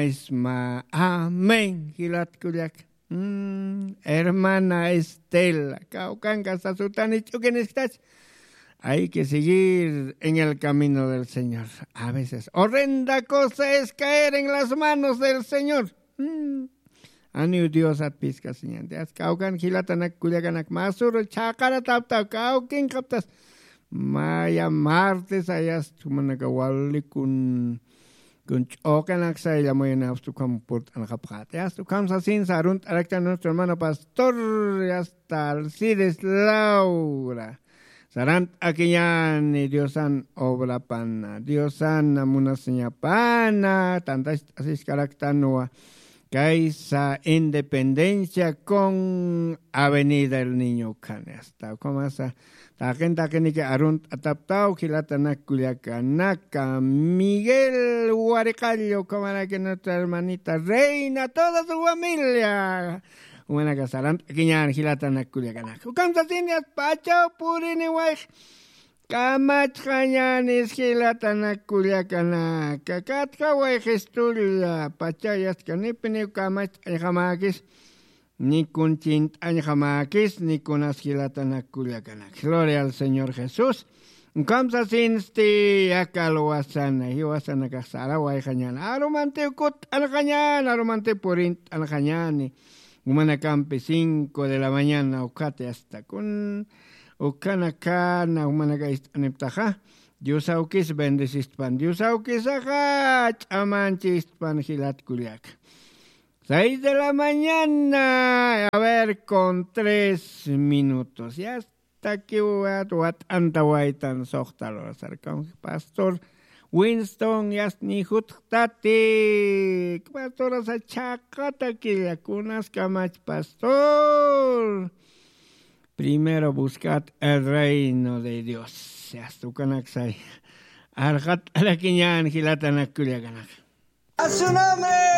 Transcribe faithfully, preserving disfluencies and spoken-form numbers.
Isma amén jilat kullak. Mm, hermana Estela, kawkanka sasutani ch'ukiniskitach. Hay que seguir en el camino del Señor. A veces horrenda cosa es caer en las manos del Señor. Mm. Aniw Diosat piskasiñanti. Aska kawkan jilatanak kullakanak masuru chhaqarataptaw kawkinkaptas. Maya martes ayast jumanaka walikun kun ch'uqanak saylla muyanapstu ukham purt'anxapxati. Asta ukham sasin sarunt'araktan nuestro hermano pastor, asta Alcides Laura. Sarant'akiñani Diosan obrapana, Diosana munasiñapana tantacht'asiskaraktanwa. Kaysa Independencia con Avenida El Niño ukhani. Asta ukhamasa taqin taqiniki arunt'ataptaw jilatanak kullakanaka. Miguel Wariqallo ukhamaraki nuestra hermanita Reina, toda su familia. Umanaka sarant'akiñan jilatanak kullakanaka. Ukham sasini asta pachaw purini wayx kamachxañanis jilatanak kullakanaka. Katja wayxistulla pachaw yastka nipiniw kamacht'añjamäkis. Nikun chint'añjamäkis nikunas jilatanak kullakanak. Gloria al Señor Jesús. Ukham sasinsti aka alwasana jiwasanakax sarawayxañan arumantiw kutt'anxañan arumantiw purint'anxañani. Jumanakampi cinco de la mañana ukhati asta kun ukhanakana jumanaka ist'aniptaxa. Diosawkis bendecistpan, Diosawkisaxa ch'amanchistpan jilat kullaka. Seis de la mañana a ver con tres minutos ya. Takiwat wat'antawaytan soxtalorasarkan pastor Winston yasni jutxtatik pastorasa chhaqatakilla kunaskamach pastor. Primero buscad el reino de Dios. Yasta ukanaksay arxat alakiñan jilatanak kullakanak. A su nombre.